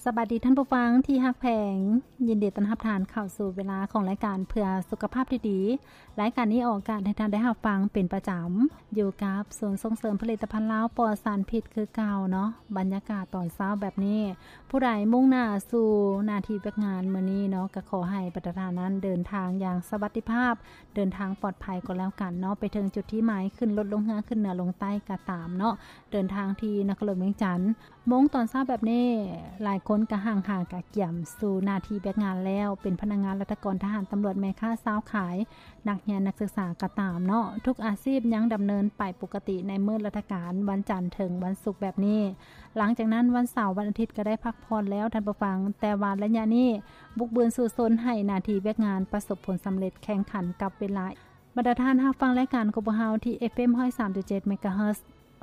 ສະບາຍດີທ່ານຜູ້ຟັງທີ່ຮັກແພງ, ຍິນດີຕ້ອນຮັບທ່ານເຂົ້າສູ່ເວລາຂອງລາຍການເພື່ອສຸຂະພາບທີ່ດີ. ລາຍການນີ້ອອກອາກາດໃຫ້ທ່ານໄດ້ຮັບຟັງເປັນປະຈຳ ຢູ່ກັບສູນສົ່ງເສີມຜະລິດຕະພັນລາວປອດສານພິດຄືເກົ່າເນາະ. ບັນຍາກາດຕອນເຊົ້າແບບນີ້, ຜູ້ໃດມຸ່ງໜ້າສູ່ໜ້າທີ່ວຽກງານມື້ນີ້ເນາະ, ກໍຂໍໃຫ້ບັນດາທ່ານນັ້ນເດີນທາງຢ່າງສະຫວັດດີພາບ, ເດີນທາງປອດໄພກໍແລ້ວກັນເນາະ, ໄປເຖິງຈຸດທີ່ໝາຍ, ຂຶ້ນລົດລົງເຮືອ, ຂຶ້ນເໜືອລົງໃຕ້ກໍຕາມເນາະ, ເດີນທາງທີ່ນະຄອນຫຼວງວຽງຈັນ. ໂມງຕອນເຊົ້າແບບນີ້, ຫຼາຍຄົນກໍຮັ່ງຫາກະກຽມສູ່ໜ້າທີ່ວຽກງານແລ້ວ, ເປັນພະນັກງານ, ລັດຖະກອນ, ທະຫານ, ຕຳຫຼວດ, ແມ່ຄ້າ, ຊາວຂາຍ, ນັກຮຽນ, ນັກສຶກສາກໍຕາມເນາະ, ທຸກອາຊີບຍັງດຳເນີນໄປປົກກະຕິໃນມື້ລັດຖະການ, ວັນຈັນເຖິງວັນສຸກແບບນີ້. ຫຼັງຈາກນັ້ນ, ວັນເສົາ, ວັນອາທິດກໍໄດ້ພັກຜ່ອນແລ້ວ, ທ່ານຜູ້ຟັງ, ແຕ່ວ່າໄລຍະນີ້ບຸກບືນສູ້ຊົນໃຫ້ໜ້າທີ່ວຽກງານປະສົບຜົນສຳເລັດ, ແຂ່ງຂັນກັບເວລາ. ບັນດາທ່ານຮັບຟັງລາຍການຂອງພວກເຮົາທີ່ ເອຟເອັມ ຮ້ອຍສາມຈຸດເຈັດ ເມກາເຮີດ.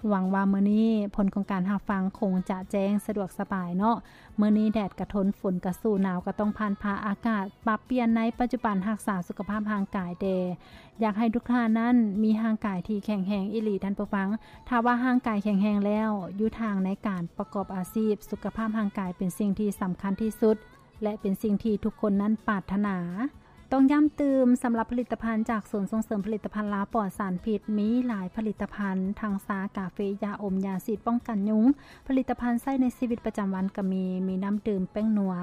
ຫວັງວ່າມື້ນີ້ຜົນຂອງການຮັບຟັງຄົງຈະແຈ້ງສະດວກສະບາຍເນາະ. ມື້ນີ້ແດດກະທົນ, ຝົນກະສູ້, ໜາວກະຕ້ອງຜ່ານຜ່າ, ອາກາດປັບປ່ຽນໃນປັດຈຸບັນ, ຮັກສາສຸຂະພາບຮ່າງກາຍແດ່. ຢາກໃຫ້ທຸກທ່ານນັ້ນມີຮ່າງກາຍທີ່ແຂງແຮງອີ່ຫຼີ, ທ່ານຜູ້ຟັງ. ຖ້າວ່າຮ່າງກາຍແຂງແຮງແລ້ວ, ຢູ່ທາງໃນການປະກອບອາຊີບ, ສຸຂະພາບຮ່າງກາຍເປັນສິ່ງທີ່ສຳຄັນທີ່ສຸດ ແລະ ເປັນສິ່ງທີ່ທຸກຄົນນັ້ນປາດຖະໜາ. ຕ້ອງຢ້ຳຕື່ມ, ສຳລັບຜະລິດຕະພັນຈາກສູນສົ່ງເສີມຜະລິດຕະພັນລາວປອດສານພິດ, ມີຫຼາຍຜະລິດຕະພັນ, ທັງຊາ, ກາເຟ, ຢາອົມ, ຢາສີດປ້ອງກັນຍຸງ, ຜະລິດຕະພັນໃຊ້ໃນຊີວິດປະຈຳວັນກໍມີ, ມີນ້ຳດື່ມ, ແປ້ງນົວ.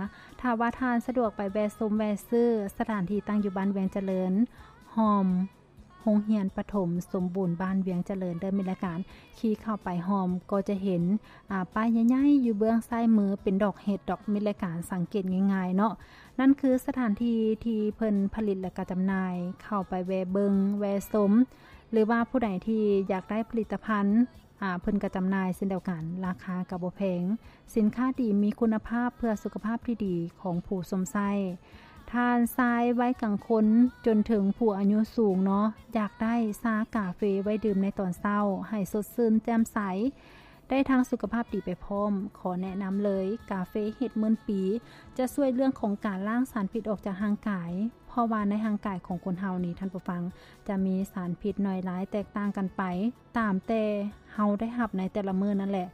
ຖ້າວ່າທ່ານສະດວກໄປແວ່ຊົມແວ່ຊື້, ສະຖານທີ່ຕັ້ງຢູ່ບ້ານວຽງຈະເລີນ, ຮ່ອມ ໂຮງຮຽນປະຖົມສົມບູນບ້ານວຽງຈະເລີນເດີ. ມິດລາຍການຂີ່ເຂົ້າໄປຮ່ອມກໍຈະເຫັນ, ອາ, ປ້າຍໃຫຍ່ໆຢູ່ເບື້ອງຊ້າຍມືເປັນດອກເຫັດດອກ. ມິດລາຍການສັງເກດງ່າຍໆເນາະ. ນັ້ນຄືສະຖານທີ່ທີ່ເພິ່ນຜະລິດ ແລະ ກະຈຳໜ່າຍ. ເຂົ້າໄປແວ່ເບິ່ງແວ່ຊົມ ຫຼືວ່າຜູ້ໃດທີ່ຢາກໄດ້ຜະລິດຕະພັນ, ອາ, ເພິ່ນກະຈຳໜ່າຍເຊັ່ນດຽວກັນ. ລາຄາກະບໍ່ແພງ. ສິນຄ້າດີມີຄຸນນະພາບເພື່ອສຸຂະພາບທີ່ດີຂອງຜູ້ຊົມໃຊ້. ທ່ານຊາຍໄວກາງຄົນຈົນເຖິງຜູ້ອາຍຸສູງເນາະ, ຢາກໄດ້ຊາກາເຟໄວ້ດື່ມໃນຕອນເຊົ້າໃຫ້ສົດຊື່ນແຈ່ມໃສ, ໄດ້ທັງສຸຂະພາບດີໄປພ້ອມ. ຂໍແນະນຳເລີຍ, ກາເຟເຫັດໝື່ນປີ ຈະຊ່ວຍເລື່ອງຂອງການລ້າງສານພິດອອກຈາກຮ່າງກາຍ, ເພາະວ່າໃນຮ່າງກາຍຂອງຄົນເຮົານີ້, ທ່ານຜູ້ຟັງ, ຈະມີສານພິດໜ້ອຍຫຼາຍແຕກຕ່າງກັນໄປ ຕາມແຕ່ເຮົາໄດ້ຮັບໃນແຕ່ລະມື້ນັ້ນແຫຼະ.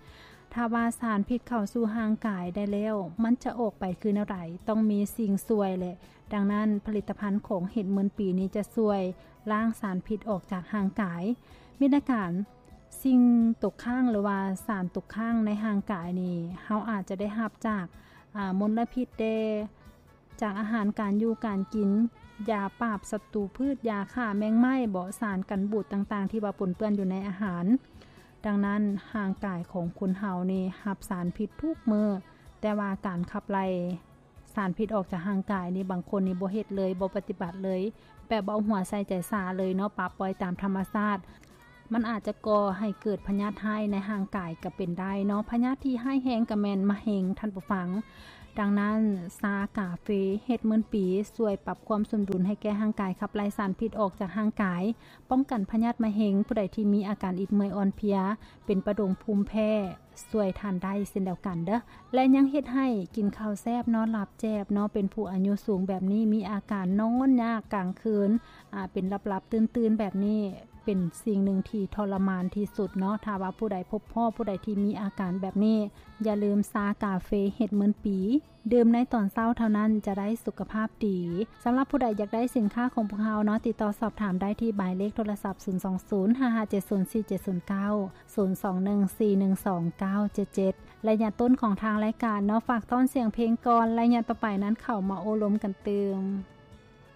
ຖ້າວ່າສານພິດເຂົ້າສູ່ຮ່າງກາຍໄດ້ແລ້ວ, ມັນຈະອອກໄປຄືແນວໃດ? ຕ້ອງມີສິ່ງຊ່ວຍແຫຼະ. ດັ່ງນັ້ນ, ຜະລິດຕະພັນຂອງເຫັດໝື່ນປີນີ້ຈະຊ່ວຍລ້າງສານພິດອອກຈາກຮ່າງກາຍ. ມິດລາຍການ, ສິ່ງຕົກຄ້າງ ຫຼືວ່າສານຕົກຄ້າງໃນຮ່າງກາຍນີ້, ເຮົາອາດຈະໄດ້ຮັບຈາກ, ອາ, ມົນລະພິດແດ່, ຈາກອາຫານການຢູ່ການກິນ, ຢາປາບສັດຕູພືດ, ຢາຂ້າແມງໄມ້ບໍ, ສານກັນບູດຕ່າງໆ ທີ່ວ່າປົນເປື້ອນຢູ່ໃນອາຫານ. ດັ່ງນັ້ນ, ຮ່າງກາຍຂອງຄົນເຮົານີ້ຮັບສານພິດທຸກມື້, ແຕ່ວ່າການຂັບໄລ່ສານພິດອອກຈາກຮ່າງກາຍນີ້, ບາງຄົນນີ້ບໍ່ເຮັດເລີຍ, ບໍ່ປະຕິບັດເລີຍ, ແບບບໍ່ເອົາຫົວໃສ່ໃຈສາເລີຍເນາະ, ປະປ່ອຍຕາມທຳມະຊາດ. ມັນອາດຈະກໍ່ໃຫ້ເກີດພະຍາດຮ້າຍໃນຮ່າງກາຍກໍເປັນໄດ້ເນາະ. ພະຍາດທີ່ຮ້າຍແຮງກໍແມ່ນມະເຮັງ, ທ່ານຜູ້ຟັງ. ດັ່ງນັ້ນ, ຊາກາເຟເຫັດໝື່ນປີ ຊ່ວຍປັບຄວາມສົມດຸນໃຫ້ແກ່ຮ່າງກາຍ, ຂັບໄລ່ສານພິດອອກຈາກຮ່າງກາຍ, ປ້ອງກັນພະຍາດມະເຮັງ, ຜູ້ໃດທີ່ມີອາການອິດເມື່ອຍອ່ອນເພຍ, ເປັນປະດົງ, ພູມແພ້, ຊ່ວຍທ່ານໄດ້ເຊັ່ນດຽວກັນເດີ້ ແລະ ຍັງເຮັດໃຫ້ກິນເຂົ້າແຊບ ນອນຫຼັບແຈບເນາະ. ເປັນຜູ້ອາຍຸສູງແບບນີ້ ມີອາການນອນຍາກກາງຄືນ, ອາ, ເປັນຫຼັບໆຕື່ນໆແບບນີ້ ເປັນສິ່ງໜຶ່ງທີ່ທໍລະມານທີ່ສຸດເນາະ. ຖ້າວ່າຜູ້ໃດພົບພໍ້ຜູ້ໃດທີ່ມີອາການແບບນີ້, ຢ່າລືມຊາກາເຟເຫັດໝື່ນປີ ດື່ມໃນຕອນເຊົ້າເທົ່ານັ້ນຈະໄດ້ສຸຂະພາບດີ. ສຳລັບຜູ້ໃດຢາກໄດ້ສິນຄ້າຂອງພວກເຮົາເນາະ, ຕິດຕໍ່ສອບຖາມໄດ້ທີ່ໝາຍເລກໂທລະສັບ ສູນສອງສູນ ຫ້າຫ້າເຈັດສູນ ສີ່ເຈັດສູນເກົ້າ ສູນສອງໜຶ່ງ ສີ່ໜຶ່ງສອງ ເກົ້າເຈັດເຈັດ ໄລຍະຕົ້ນຂອງທາງລາຍການເນາະ, ຝາກຕ້ອນສຽງເພງກ່ອນ, ໄລຍະຕໍ່ໄປນັ້ນເຂົ້າມາໂອ້ລົມກັນຕື່ມ.